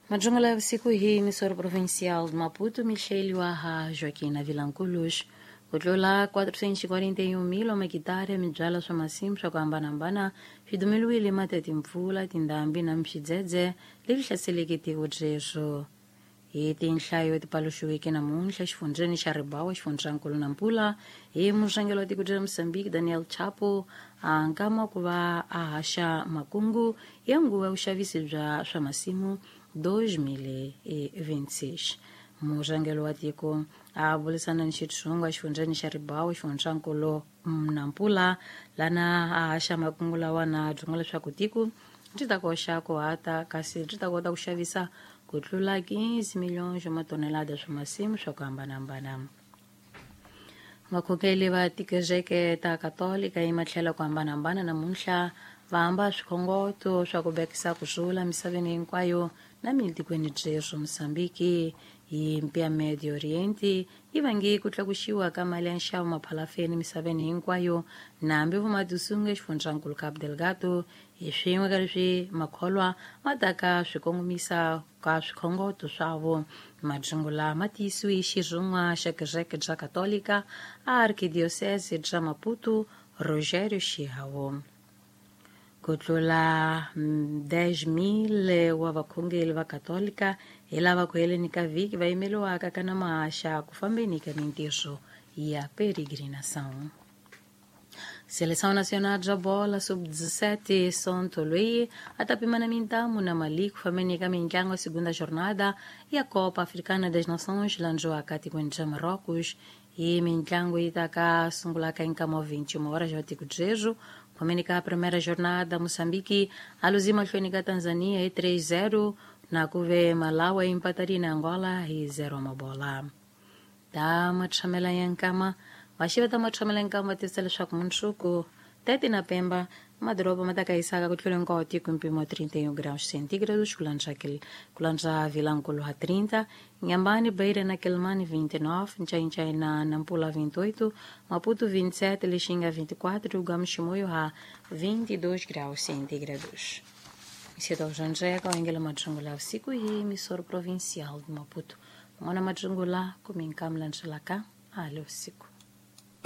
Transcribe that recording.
Majungula usiku hii emissora provincial de Maputo, Michele Waha Joaquina Vilanculos. Ku tlula 441 mil wa makitara ya mibyala swa masimu swa ku hambanahambana swi dumeliwile mati ya timpfula, tindhambi na swidzedze leswi hlaseleke tiko byeswo. Hi tinhlayo ti paluxiweke namuntlha exifundzheni xa Ribawa, xifundzankulu Nampula, hi murhangeri wa tiko ra Mozambique Daniel Chapo, a nkama ku va a haxa makungu ya nguva ya vuxavisi bya swa masimu 2026. Murhangeri wa tiko a burisana ni xitshungu exifundzheni xa Ribawa, xifundzankulu Nampula, lana a haxa makungu lawa na byinga leswaku tiko byi ta koxa ku hata kasi byi ta kota ku xavisa ku tlula 15 milhões wa matonelada swa masimu swa ku hambanahambana. Vakhongeri va tikereke ta Katolika ematlhelo ku hambanahambana namuntlha va hamba swikhongoto swa ku vekisa ku rhula misaveni hinkwayo na mitikweni byeswo. Mozambique hi mpi ya Medio Oriente yi vange ku tlakuxiwa ka mali ya nxavo maphalafeni misaveni hinkwayo na hambi vumatisungu exifundzhankulu Cabo Delgado hi swin'we ka leswi makholwa ma taka swi kongomisa ka swikhongoto swavo. Majungula ma tiyisiwe hi xirhun'wa xa kereke bya Katolika a Arquidiocese bya Maputo, Rogério Chiao. Ku tlula 10,000 wa vakhongeri va Katolika hi lava ku heleni ka vhiki va yimeriwaka ka na mahaxa ku fambeni ka mintirho ya peregrinação. Seleção Nacional bya Bola Sub-17 Sonto loyi a ta pimana mintamu na Mali ku fambeni ka mitlangu ya segunda jornada ya Copa Africana das Nações landziwaka tikweni bya Marrocos. Hi mitlangu yi ta ka sungulaka hi nkama wa 21 horas ja tiko byebyo. Ku fambeni ka primeira jornada, Moçambique a luzi mahlweni ka Tanzania hi 3-0 na ku ve Malawi yi empatarile na Angola hi 0 mabola. Ta matshamela ya nkama vaxi va ta matshamela ya nkama va tivisa leswaku mundzuku 30 na Pemba madoroba ma ta ka yisaka ku tlula hinkwawo tiko hi mpimo wa 31 graus centígrados, ku landza ku landza Vilankulu ha 30, Inhambane, Beira na Quelimane 29, Nchainchai na Nampula 28, Maputo 27, Lixinga 24 e Gamo Chimoio ha 22 graus centígrados. Isito Janjeka wengela majungula usiku hii emissora provincial de Maputo. Mwana majungula kuminkamla nxilaka ale usiku.